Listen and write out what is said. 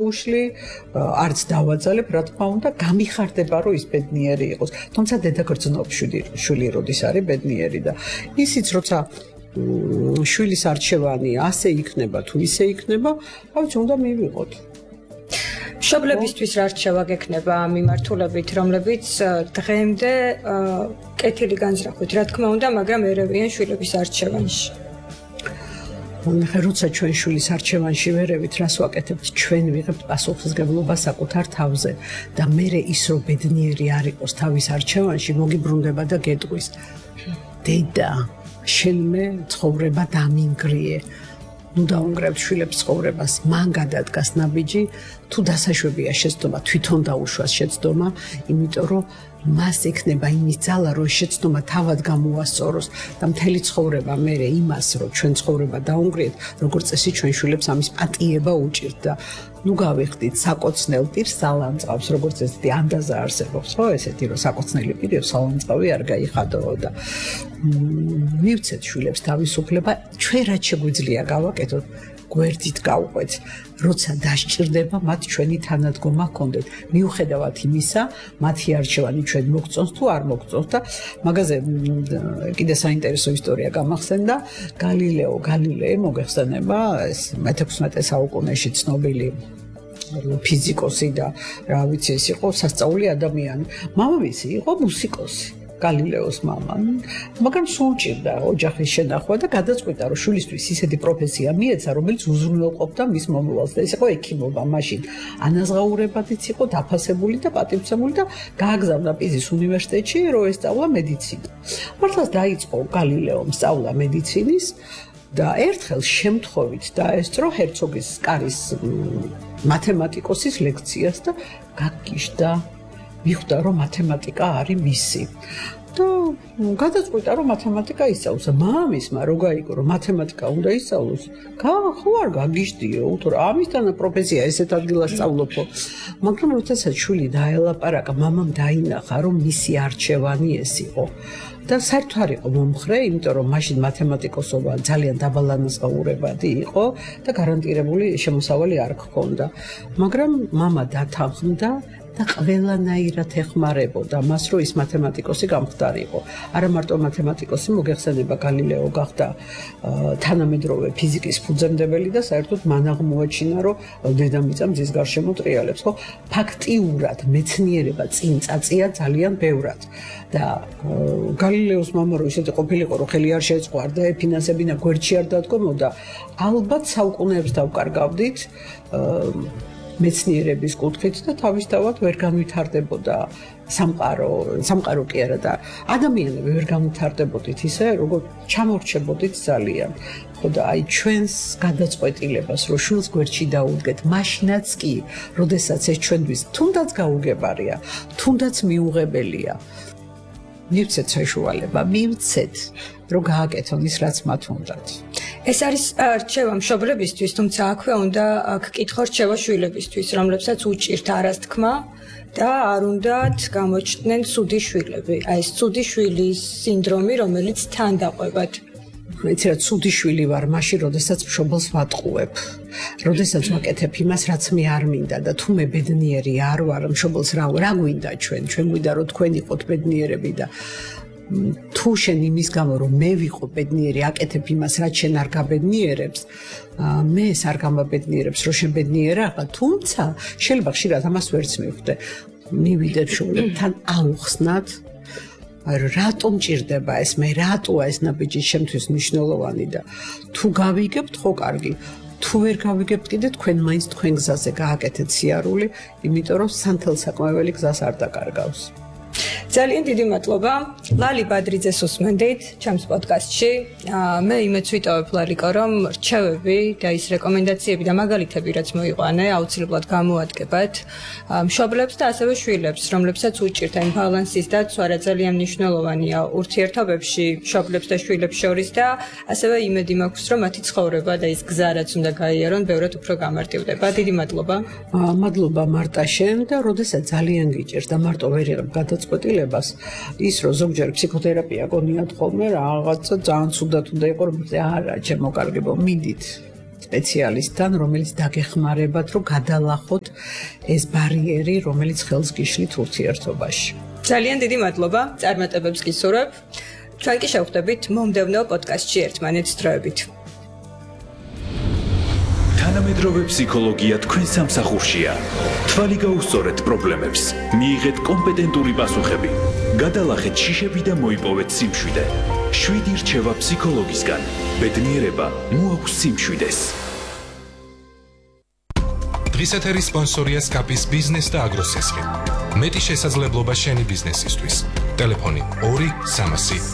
უშლი არც დავაძალებ, რა თქმა უნდა, გამიხარდება, რომ ის ბედნიერი იყოს. თუმცა დედა გრძნობს შვილი როდის არის ბედნიერი და ისიც როცა შვილის არჩევანი ასე იქნება თუ ისე იქნება, ავიც უნდა მივიღოთ. მშობლებისთვის რა რჩევა გექნება ამ მიმართულებით, რომლებიც დღემდე კეთილი განზრახვით, რა თქმა უნდა, მაგრამ ერევიან შვილების არჩევანში. როცა ჩვენ შვილის არჩევანში ვერევით, რას ვაკეთებთ, ჩვენ ვიღებთ პასუხისმგებლობა საკუთარ თავზე და მერე ის რომ ბედნიერი არ იყოს თავის არჩევანში, მოგიბრუნდება და გეტყვის. დედა, შენმე ცხოვრება დამინგრიე. ნუ დაუნგრებთ შვილებს ცხოვრებას, მან გადადგას ნაბიჯი, თუ დასაშვებია შეცდომა, თვითონ დაუშვას შეცდომა, იმიტომ რომ მას ექნება იმის ძალა, რომ შეცდომა თავად გამოასწოროს და მთელი ცხოვრება მერე იმას, რომ ჩვენ ცხოვრება დაუნგრიეთ, როგორც წესი ჩვენ შვილებს ამის პატიება უჭირთ და ნუ გავიხდით საკოცნელ პირს სალანძღავს, როგორც ესეთი ანდაზა არსებობს, ხო, ესეთი რომ საკოცნელი პირი სალანძღავი არ გაიხადოო და მივცეთ შვილებს თავისუფლება, ჩვენ რაც შეგვიძლია გავაკეთოთ, გვერდით გავყვეთ, როცა დასჭირდება, მათ ჩვენი თანადგომა ჰქონდეთ. მიუხედავად იმისა, მათი არჩევანი ჩვენ მოგწონს თუ არ მოგწონს და მაგაზე კიდე საინტერესო ისტორია გამახსენდა. გალილეო მოგეხსენება, ეს მე-16 საუკუნეში ცნობილი ფიზიკოსი და რა ვიცი, ეს იყო სასწაული ადამიანი. მამამისი იყო მუსიკოსი. გალილეოს მამა, მაგრამ სულ ჭირდა ოჯახის შენახვა და გადაწყვიტა, რომ შვილისთვის ისეთი პროფესია მიეცა, რომელიც უზრუნველყოფდა მის მომავალს და ეს იყო ექიმობა. მაშინ ანაზღაურებადიც იყო დაფასებული და პატივცემული და გააგზავნა პიზის უნივერსიტეტში, რომ ესწავლა მედიცინა. მართლაც დაიწყო გალილეომ სწავლა მედიცინის და ერთხელ შემთხვევით დაესწრო ჰერცოგის კარის მათემატიკოსის ლექციას და გაგიჟდა. მიხვდა, რომ მათემატიკა არის მისი. და გადაწყვიტა, რომ მათემატიკა ისწავლოს. მამისმა რო გაიგო, რომ მათემატიკა უნდა ისწავლოს, ხო არ გაგიჟდიო, უთო ამისთან პროფესია ესეთ ადგილას სწავლობო. მაგრამ როდესაც შვილი დაელაპარაკა, მამამ დაინახა, რომ მისი არჩევანი ეს იყო. და საერთოდ არ იყო მომხრე, იმიტომ რომ მაშინ მათემატიკოსობა ძალიან დაბალანაზღაურებადი იყო და გარანტირებული შემოსავალი არ ჰქონდა. მაგრამ მამა დათანხმდა და ყველანაირად ეხმარებოდა მას, რომ ის მათემატიკოსი გამხდარიყო. არა მარტო მათემატიკოსი, მოგეხსენება გალილეო გახდა თანამედროვე ფიზიკის ფუძემდებელი და საერთოდ მან აღმოაჩინა, რომ დედამიწა მზის გარშემო ტრიალებს, ხო? ფაქტიურად მეცნიერება წინ წაწია ძალიან ბევრად. და გალილეოს მამა რო ისეთი ყოფილიყო, რომ ხელი არ შეეწყوارდა, ფინანსებინა გვერდში არ დადგომოდა, ალბათ საუკუნეებს დავკარგავდით მეცნიერების კუთხით და თავისთავად ვერ განვითარდებოდა სამყარო კი არა და ადამიანები ვერ განვითარდებოდით ისე, როგორც ჩამორჩებოდით ძალიან. ხო და აი ჩვენს გადაწყვეტილებას, რომ შვილს გვერდში დაუდგეთ, მაშინაც კი, როდესაც ეს ჩვენთვის თუნდაც გაუგებარია, თუნდაც მიუღებელია. მივცეთ საშუალება, მივცეთ, რომ გააკეთონ ის, რაც მათ უნდათ. ეს არის რჩევა მშობლებისთვის, თუმცა აქვე უნდა გკითხო რჩევა შვილებისთვის, რომლებსაც უჭირთ არასთქმა და არ უნდათ გამოჩნდნენ ცუდი შვილები. აი ეს ცუდი შვილის სინდრომი, რომელიც თან დაყვებათ. მეც რა ცუდი შვილი ვარ, მაშინ როდესაც მშობელს ვატყუებ. როდესაც ვაკეთებ იმას, რაც მე არ მინდა და თუ მე ბედნიერი არ ვარ, მშობელს რა გვინდა ჩვენ გვინდა რომ თქვენ იყოთ ბედნიერები და თუ შენ იმის გამო რომ მე ვიყო ბედნიერი აკეთებ იმას რაც შენ არ გაბედნიერებს მე ეს არ გამაბედნიერებს რომ შენ ბედნიერაა თუმცა შეიძლება ხშირად ამას ვერც მივხვდე მივიდეთ შვილებთან აუხსნათ რატომ ჭირდება ეს მე რატოა ეს ნაბიჯი შემთთვის მნიშვნელოვანი და თუ გავიგებთ ხო კარგი თუ ვერ გავიგებთ კიდე თქვენ მაინც თქვენ გზაზე გააკეთეთ სიარული იმიტომ რომ სანთელსაკმეველი გზას არ დაკარგავს ძალიან დიდი მადლობა ლალი ბადრიძეს უსმენდით ჩემს პოდკასტში მე იმეც ვიტოვებ ლალიკო რომ რჩევები და ის რეკომენდაციები და მაგალითები რაც მოიყვანე აუცილებლად გამოადგებათ მშობლებს და ასევე შვილებს რომლებსაც უჭირთ ამ ბალანსის დაცვა რა ძალიან მნიშვნელოვანია ურთიერთობებში მშობლებს და შვილებს შორის და ასევე იმედი მაქვს რომ მათი ცხოვრება და ის გზა რაც უნდა გაიარონ ბევრად უფრო გამარტივდება დიდი მადლობა მადლობა მარტა შენ და როდესაც ძალიან გიჭირს და მარტო ვერ იღებ გადაწყვეტილებას ის რომ ზოგჯერ ფსიქოთერაპია გონიათ ხოლმე რაღაცა ძალიან ცუდად უნდა იყო რომ არა ჩემო კარგებო მიდით სპეციალისტთან, რომელიც დაგეხმარებათ, რომ გადალახოთ ეს ბარიერი, რომელიც ხელს გიშლით ურთიერთობაში. ძალიან დიდი მადლობა, წარმატებებს გისურვებ. ჩვენ კი შევხვდებით მომდევნო პოდკასტში ერთმანეთს დროებით. თანამედროვე ფსიქოლოგია თქვენ სამსახურშია. თვალი გაუსწორეთ პრობლემებს, მიიღეთ კომპეტენტური პასუხები, გადალახეთ შიშები და მოიპოვეთ სიმშვიდე. 7 რჩევა ფსიქოლოგისგან. ბედნიერება მოაქვს სიმშვიდეს. დღის ეთერის სპონსორია სკაპის ბიზნეს და აგროსესხი. მეტი შესაძლებლობა შენი ბიზნესისთვის. ტელეფონი 2 300